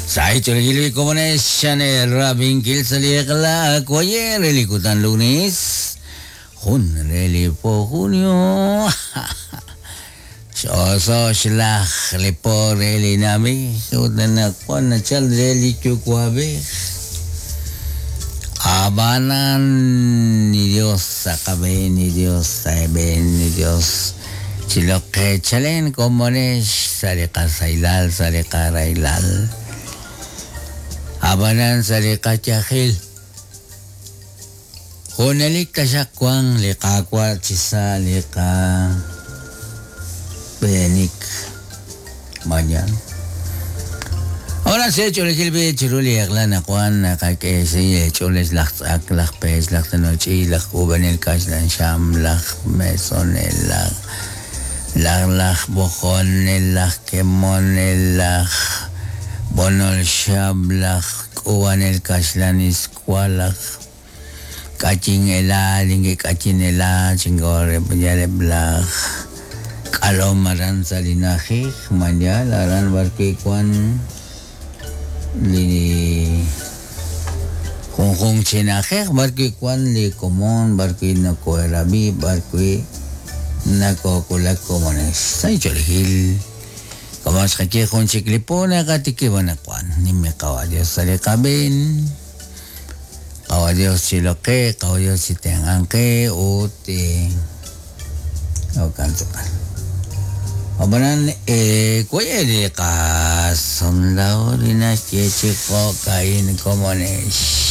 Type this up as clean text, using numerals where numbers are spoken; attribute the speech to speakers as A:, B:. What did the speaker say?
A: Sa' ch'oolejil li komonex xane rab'inkil sa' li eq'la waye' re li kutan lunes jun re li po junio x'oso' xlaj li po re li na'b'ej ut anaqwan nachal re li yuwa'b'ej. Ab'anan li Dios sa' qab'een, li Dios sa' eeb'een, li Dios chiloq qe chalen komonex sa' li qasahilal, sa' li qarahilal. Ab'anan sa' li qayajil junelik taxaq wanq li Qaawa' chi sa' li qab'eenik. Mañana. Ahora se ch'oolejil b'i chiru li eq'la naqwan naqak'e xsahil eech'ool laj tz'ak, laj peech, laj tenoch'i, laj k'uub'anel kaxlan xam, laj mesonel, laj laj laj b'ojonel, laj kemonel, laj b'onol xab', laj k'uub'anel kaxlan iswa, laj k'ayin ela, link'ayin ela, chingoreb'yaleb' laj k'alom aran sa' li na'ajej, mañana aran b'arwi' wan li junjunq chi na'ajej b'arwi' wan li komon, b'arwi' nakoherab'i, b'arwi' nakowulak komonex. Sa' ch'oolejil komon xqaye jun chik li po naqatikib' anaqwan nimiqawa' Dios sa' li qab'een. Qawa' Dios chiloq qe, qawa' Dios chitenq'anq qe ut jo'kan tz'aqal. Ab'anan waye' li qasumlaw li naxye chi jo'ka'in komonex.